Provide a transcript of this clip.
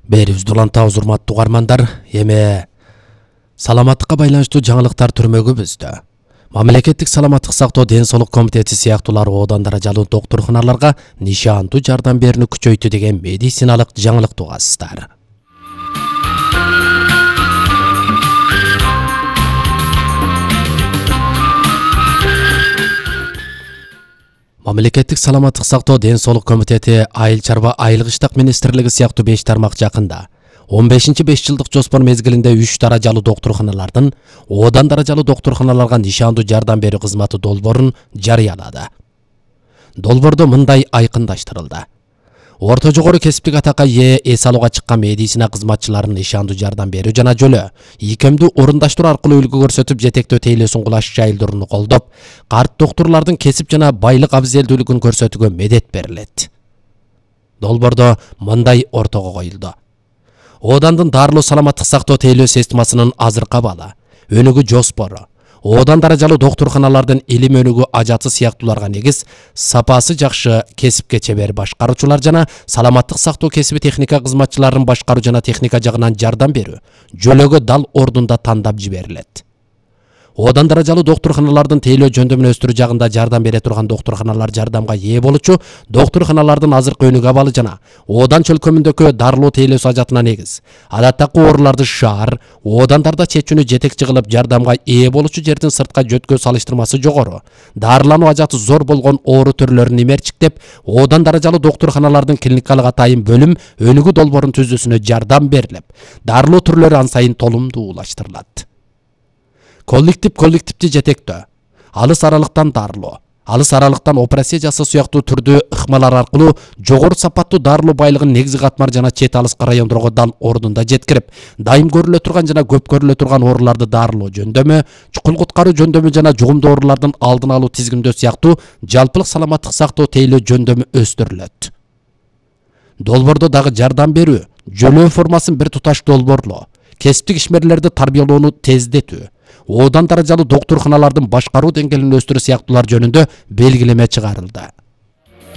Берибизди улантабыз, урматтуу угармандар. Эми саламаттыкка байланыштуу жаңылыктар түрмөгүбүздө. Мамлекеттик саламаттык сактоо ден соолук комитети сыяктуулар одан даражалуу доктурханаларга нишандуу жардам берүүнү күчөйтү деген медициналык жаңылыкты угасыздар. Мамлекеттик саламаттык сактоо ден соолук комитети айыл чарба айылык иштик министрлиги сыяктуу 5 тармак жакында 15-5 жылдык жоспор мезгилинде 3 даражалуу доктурханалардын одан даражалуу доктурханаларга нишандуу жардам берүү кызматы долбоорун жарыялады. Долбоордо мындай айкындаштырылды. Орто жогору кесиптик атакка ээ эс алууга чыккан медицина кызматчыларынын нишандуу жардам берүү жана жөлө ийкемдүү орундаштыруу аркылуу үлгү көрсөтүп жетектөө тейлөөсүн кулаш жайылдырууну колдоп, карт доктурлардын кесип жана байлык абзелдүүлүгүн көрсөтүүгө медет берилет. Долбоордо мындай ортого коюлду. Оодандын дарылуу саламаттык сактоо тейлөө системасынын азыркы абалы, өнүгүү жоспору, одан даражалуу доктурханалардын илим өнүгүү ажаты сыяктууларга негиз, сапасы жакшы кесипке чебер башкаруучулар жана саламаттык сактоо кесиби техника кызматчыларынын башкаруу жана техника жагынан жардам берүү жөлөгө дал ордунда тандап жиберилет. Одан даражалуу доктурханалардын тейлөө жөндөмүн өстүрүү жагында жардам бере турган доктурханалар жардамга ээ болучу доктурханалардын азыркы өнүгүү абалы жана одан чөлкөмүндөгү дарылуу тейлөөсү ажатына негиз. Адаттагы ооруларды шаар, одандарда чечүүнү жетекчи кылып жардамга ээ болучу жердин сыртка жөткө салыштырмасы жогору, дарылануу ажаты зор болгон оору түрлөрүн имерчиктеп, одан даражалуу доктурханалардын клиникалык атайын бөлүм өнүгүү долбоорун түзүүсүнө жардам берилип, дарылуу түрлөрү ан сайын толумдуулаштырылат. Коллективди жетектөө, алыс аралыктан дарылоо, алыс аралыктан операция жасоо сыяктуу түрдүү ыкмалар аркылуу жогору сапаттуу дарылуу байлыгын негизги катмар жана чет алыскы райондорго дал ордунда жеткирип, дайым көрүлө турган жана көп көрүлө турган ооруларды дарылоо жөндөмү, чукул куткаруу жөндөмү жана жугумдуу оорулардын алдын алуу тизгиндөө сыяктуу жалпылык саламаттык сактоо тейлөө жөндөмү өстүрүлөт. Долбоордо дагы жардам берүү, жөлөө формасын бир туташ долбоорлоо, кесиптик ишмерлерди тарбиялоону тездетүү, одан даражалуу доктурханалардын башкаруу деңгээлин өстүрүү сыяктуулар жөнүндө белгилеме чыгарылды.